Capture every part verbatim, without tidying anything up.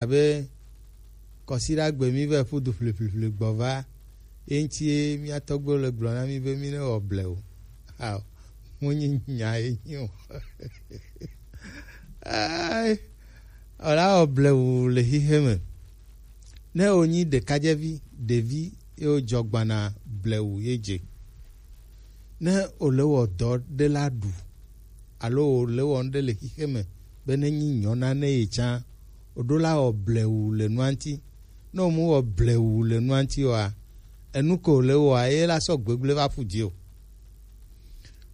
abe kɔsiɖagbe mi vɛ ƒu du ƒliƒliƒli gbɔ va, ye ŋuti ye mía tɔgbuiwo le gblɔ na mi be mi ne wɔ ble o. Ao, mu nyi nya ye nyi o. Ai, wòla wɔ blewu le xixe me. Ne wònyi ɖekadzevi, ɖevi ye wòdzɔ gbana blewu ye dze. Ne wòle wɔ dɔ ɖe la ɖu, alo wòle wɔ ŋɖe le xixe me be ne nyi nyɔna ne ye tsã, wòɖo la wɔ blewu le nua ŋuti. Ne wòmu wɔ blewu le nua ŋuti oa, enu ke wòle wɔa, ye la sɔ gbegble va ƒu dzi o.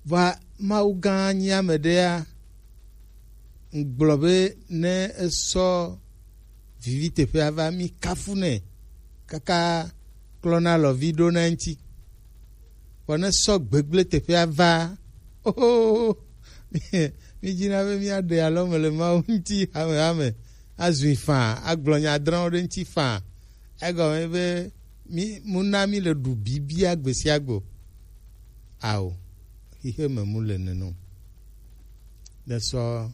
Vɔa Mawu gã nyi ame ɖea, ŋgblɔ be ne esɔ vivi teƒea va, mi kafu nɛ kaka klɔna lɔvi ɖo na eŋuti. Vɔ ne sɔ gbegble teƒea va, oho, mi dzina be miaɖe alɔme le Mawu ŋuti hamehame, azui faa, agblɔ nya adrɔ̃wo ɖe ŋuti faa. Egɔme be mi mu na mi le ɖu bibia gbe sia gbe o. Ao, xixe me mu le nene o. Ne sɔ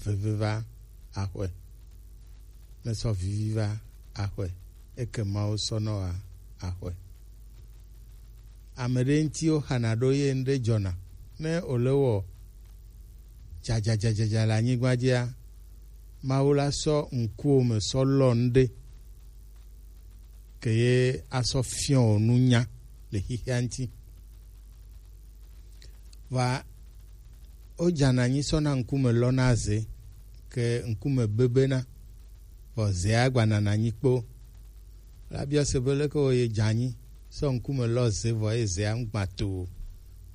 veve va axɔe, ne sɔ vivi va axɔe, eke Mawu sɔ nɔ wa axɔe. Ame ɖe ŋuti woxana ɖo ye ŋɖe dzɔna. Ne wòle wɔ dzadzadzadzadza le anyigba dzia, Mawu la sɔ ŋkuwo me sɔ lɔ ŋɖe ke ye asɔ fiɔ wò nunya le xixea ŋuti. Vɔa wodzana anyi sɔna ŋkume lɔna ze ke ŋkume bebena, vɔ zea gbanana anyi kpo. La biɔ se be leke wòye dze anyi sɔ ŋkume lɔ ze vɔ eye zea ŋgbã to o.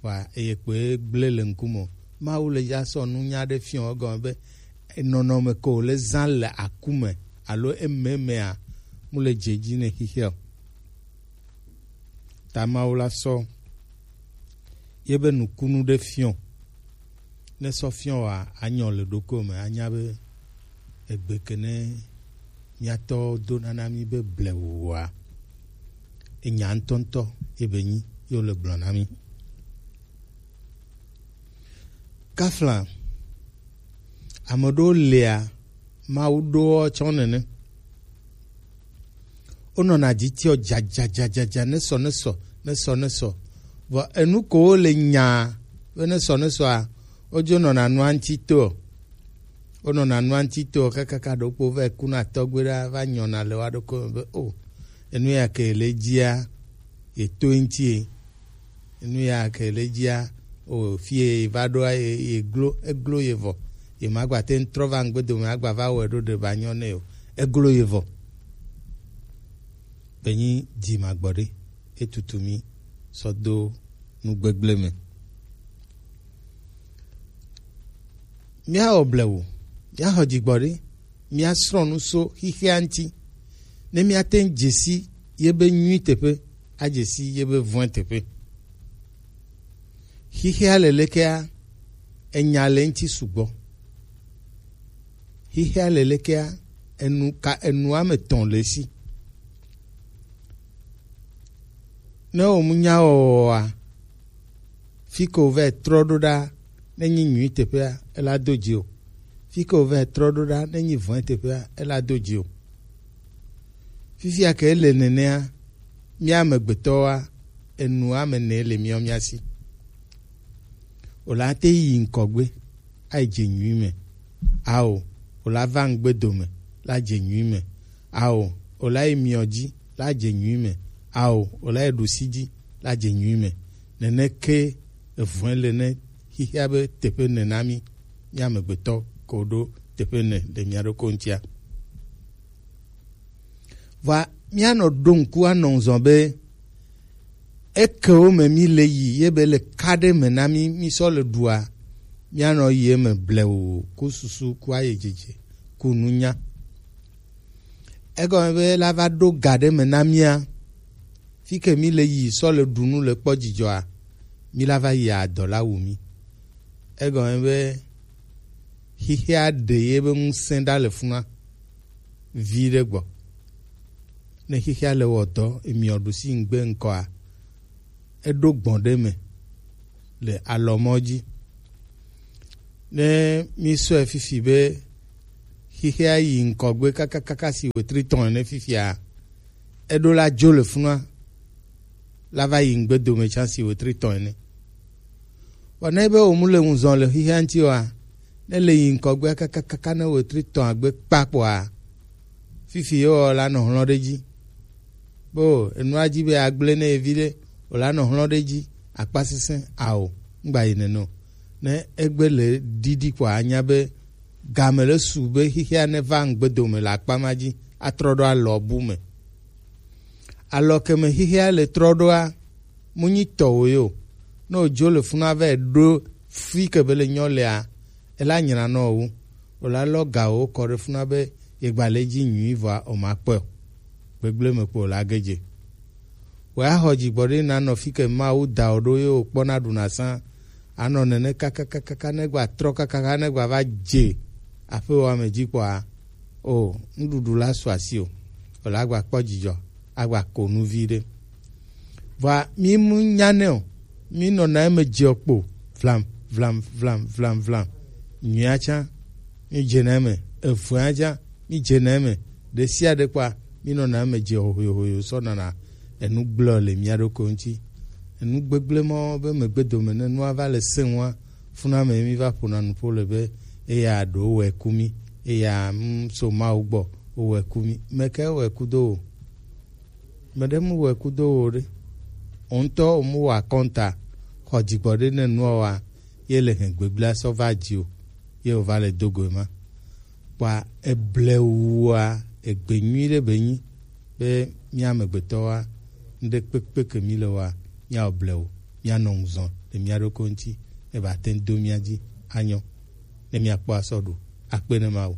Vɔa eye kpoe gblẽ le ŋkume o. Mawu le ya sɔ nunya ɖe fiɔ egɔme be nɔnɔme ke wòle zã le aku me alo ememea mu le dze dzi ne xixea o. Ta Mawu la sɔ ye be nukunu ɖe fiɔ. Ne sɔ fiɔ wa anyɔ le ɖokui me anya be egbe ke ne miatɔ do nana mi be blewua enya ŋutɔŋutɔ ye be nyi ye wole gblɔ na mi. Kafla, ame ɖewo lia Mawu ɖoɔ tsɔ nene. Wonɔna dzi tiɔ dzadzadzadzadza nesɔ nesɔ nesɔ nesɔ. Vɔ enu ko wole nyaa be nesɔ nesɔa, wodzo nɔna nua ŋuti toɔ. Wonɔna nua ŋuti toɔ kakaka ɖokpo va kuna tɔgbe ɖa va nyɔna le wa ɖokpo me be o, enu ya ke le dzia, ye to ŋuti ye. Nu ya ke le dzia, o fie va ɖoa ye, ye glo, eglo ye vɔ. Ye magba te ŋu trɔ va ŋgbe dome agba va wɔe ɖo ɖe ba nyɔ nɛ o. Eglo ye vɔ. Be nyi dzi magbɔ ɖe, etutu mi sɔ do nu gbegble me. Míawɔ blewu, míaxɔ dzigbɔɖi, míasrɔ̃ nu so xixea ŋuti, ne míate ŋu dze si yebe nyui teƒe, adze si yebe vɔ̃e teƒe. Xixea le lekea, enya le eŋuti sugbɔ. Xixea le lekea, enu ka, enu ame etɔ̃ le esi. Ne wòmu nya wɔwɔa, fi ke wòva trɔ ɖo ɖa, ne nyi nyui teƒea, ela do dzi o. Fi ke wòva trɔ ɖo ɖa, ne nyi vɔ̃e teƒea, ela do dzi o. Fifia ke ele nenea, mía amegbetɔwoa, enu ame ene le mía mía si. Wòla te yi ŋkɔgbe, ayi dze nyui me. Ao, wòla va ŋgbe dome, la dze nyui me. Ao, wòla yi miɔ dzi, la dze nyui me. Ao, wòla yi ɖusi dzi, la dze nyui me. Nene ke evɔ̃e le ne xixia be teƒe ene na mí, mí amegbetɔ ko ɖo teƒe ene le mía ɖokui ŋutia. Vɔa míanɔ ɖo ŋku anɔ ŋzɔ be ekewo me mí le yi ye be le ka ɖe me na mí, mí sɔ le ɖua, míanɔ yi eme blewu ku susu ku ayedzedze ku nunya. Egɔme be la va ɖo ga ɖe me na mía, fi ke mí le yi sɔ le ɖu nu le kpɔ dzidzɔa, mí la va yi adɔ la wu mí. Egɔme be xixea ɖe ye be ŋusẽ ɖa le funa vi ɖe gbɔ. Ne xixea le wɔ dɔ, emiɔ ɖusi ŋgbe ŋkɔa, eɖo gbɔn ɖe me le alɔmɔ dzi. Ne mí sɔe fifi be xixea yi ŋkɔgbe kakakaka si wetri tɔn ene fifia, eɖo la dzo le funua la va yi ŋgbe dome tsan si wetri tɔn ene. Vɔ ne be wòmu le ŋu zɔn le xixea ŋuti oa, ne le yi ŋkɔgbea kakakaka ne wetri tɔn agbe kpa kpoa, fifi ye wɔ la nɔ hlɔ̃ ɖe dzi. Bo enua dzi be agble ne evi ɖe, wòla nɔ hlɔ̃ ɖe dzi, akpa sesẽ ao, ŋgba yi nene o. Ne egbe le ɖiɖi kpoa, anya be game le su be xixea ne va ŋgbe dome le akpa ma dzi atrɔ ɖo alɔ bu me. Alɔ ke me xixea le trɔ ɖoa, mu nyi tɔwò ye o. Ne wòdzo le funu ava ɖo fi ke be le nyɔ lea, ela nyra nɔ wu. Wòla lɔ gawo kɔ ɖe funa be yegba le dzi nyui vɔa o ma kpɔe o. Gbegblẽ me kpo wòla ge dze. Wòaxɔ dzigbɔɖi nanɔ fi ke Mawu da wò ɖo ye wòkpɔna ɖuna sã. Anɔ nene kakakaka ne gba trɔ kakaka ne gba va dze aƒewòa me dzi kpɔa, o, nuɖuɖu la su asi o. Wòla gba kpɔ dzidzɔ, agba ko nu vi ɖe. Vɔa, mi mu nyanɛ o, mi nɔna eme dze kpo, vlam, vlam, vlam, vlam, vlam. Nyuia tsã, mi dzena eme, evea tsã, mi dzena eme. Ɖe sia ɖe kpɔa, mi nɔna eme dze hoyo hoyo sɔ nana enu gblɔ le mia ɖokui ŋuti. Enu gbegblẽ mɔ be megbe dome ne nua va le sẽŋua, funa me mi va ƒona nuƒo le be eya ɖo wɛ ku mi, eya mm, so Mawu gbɔ, wowɛ ku mi. Meke wɛ ku do o. Meɖe mu wɛ kudo wo ɖe. Wo ŋutɔ wo mu wa kɔnta xɔ dzigbɔ ɖe ne nua wa ye le hɛn gbegblea sɔ va dzi o ye wo va le do go ma. Kpa eble wua egbe nyui ɖe be nyi be mía amegbetɔwa ŋɖe kpekpe ke mi le wa mía ble wo mía nɔ ŋuzɔn le mía ɖokɔ ŋuti ne ba te do mía dzi anyɔ ne mía kpɔ asɔ ɖo akpe ne ma wo.